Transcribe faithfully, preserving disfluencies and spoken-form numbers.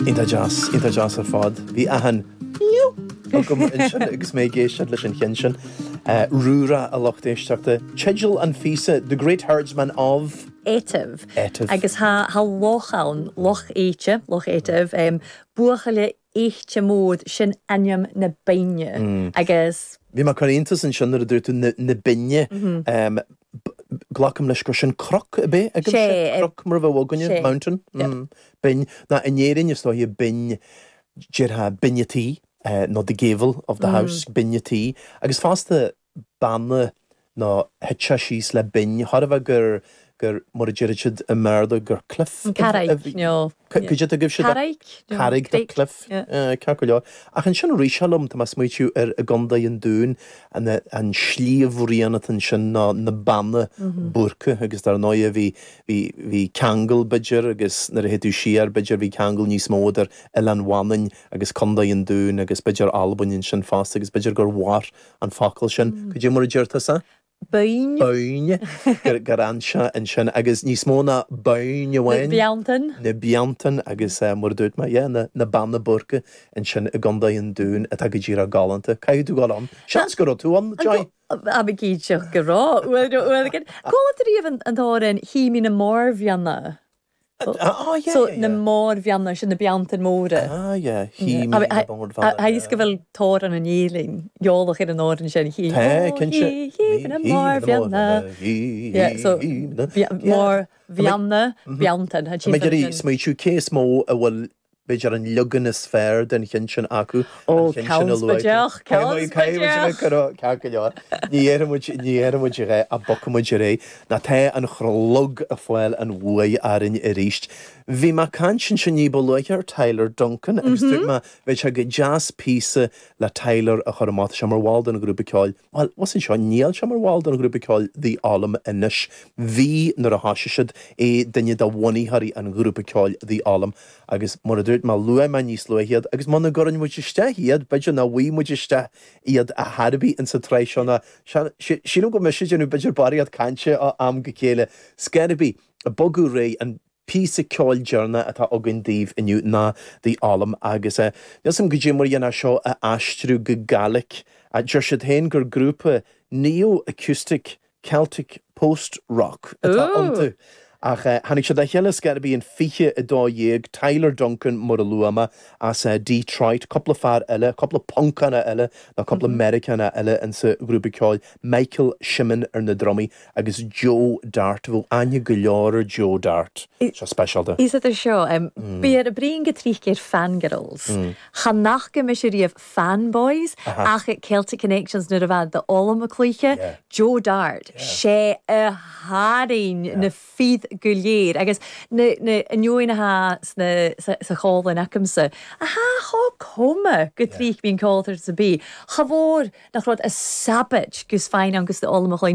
Iontach deas, iontach deas ar fad. Bhí achan agam ansin agus mé ag éisteacht leis an cheann sin. Uh, Rúra a lucht éisteachta. Teideal an phíosa The Great Herdsman of Etive. Etive. Agus tha tha loch ann, Loch Éite, Loch Etive, um, Buachaille Eite Mód sin ainm na binne. Mm. Agus Bhí mé chun iontas ansin nuair a dúirt tú na, na binne. Mm -hmm. um, Glacaim leis gur sin cnoc a bheadh agam Sé, cnoc mar a bheadh againne sé. mountain mm. Binn ná in Éirinn is dóiche binn déarfá binn an tí uh, nó the gable of the mm. house binn an tí agus fosta banna nó thit sé síos le binn thar a bheith gur gur mar a deir siad i mBéarla gur cliff Carraig nó Cad a gibh siad Carraig Carraig the cliff ceart go leor. Ach ansin arís liom tá mé ag smaoitiú ar i gContae an Dúin an an sliabhraon ansin ná na Beanna Boirche agus dar ndóigh bhí bhí bhí ceangal b'fhéidir agus nuair a théann tú siar b'fhéidir bhí ceangal níos mó idir Oileán Mhanainn agus Contae an Dúin agus b'fhéidir Albain ansin fosta agus b'fhéidir gur mhair an focal sin. Cad é mar a deir tusa? Bain Bain gur gur anse ansin agus níos mó ná bain amháin. Beantan na Beantan agus uh, mar dúirt mé yeah, na, na Beanna Boirche ansin i gContae an Dúin atá go díreach galánta. Caithfidh tú dul ann. Seans go raibh tú ann Joy? A bh cíteach go rá Go riamh an t-amhrán Tha mi na Mòrbheanna. Ah, yeah, So yeah, na yeah. Mòrbheanna sin na Beanntan móra. Ah, yeah. Tha mi na Mòrbheanna. Haís go bhfuil tóir an an éling, eolach ar an amhrán sin hí Tá cinnte. na Mòrbheanna. Yeah, so Mòrbheanna Beanntan Mé ag smaoitiú cé is mó a bhfuil b'fhéidir an leagan is fearr den cheann sin acu. Ó, Ceannsbaideach, Ceannsbaideach. Ceart go leor. Ní dhéarfaimid ní dhéarfaimid é a bogfaimid ar aghaidh, ná tá an chlog ag fáil an bhuaidh orainn arís. Bhí mé ag caint ansin ní ba luaithe ar Tyler Duncan agus dúirt mé bheadh sé go deas píosa le Tyler a chur amach sé mar bhall den ghrúpa ceoil. Well, was anseo níl sé mar bhall den ghrúpa ceoil The Ollam anois. Bhí nuair a thosaigh siad é duine de bhunaitheoirí an ghrúpa ceoil The Ollam agus mar a dúirt mé luaigh mé níos luaithe iad agus muna gcuireann muid isteach iad b'fhéidir nach bhfaighidh muid isteach iad a thairbí in sa tráth seo ná sílim go mise déanamh b'fhéidir barraíocht cainte ó am go chéile. Scairby a bogadh réidh an píosa ceoil deireanach atá againn daoibh inniu ná The Ollam agus uh, Níl go dtí mar dhéana seo a aistriú go Gaeilge a deir siad féin gur grúpa neo-acoustic Celtic post-rock atá Ooh. iontu. Ach uh, tháinig siad le chéile scairby an fiche a dó dhéag Tyler Duncan mar a luaigh mé as uh, Detroit, cúpla fear eile, cúpla Poncánach eile nó cúpla mm -hmm. Meiriceánach eile insa ghrúpa ceoil Michael Shimon ar na drumaí agus Joe Dart bhfuil aithne go leor ar Joe Dart. Seo speisialta. Is idir seo um, bí ar a bríon go trícéir fangirls. Mm. Cha nach go mis riamh fanboys ach at Celtic Connections nuair a bheith The Ollam a cluiche, Yeah. Joe Dart sé a tharraing na fir go léir agus na na inneoinatha sna sa sa chólan acamsa. A há chá cuma go tríich bíon ceoltar sa bí. Cha mhór nach rud a sabbat gus féin agus The Ollam a chluin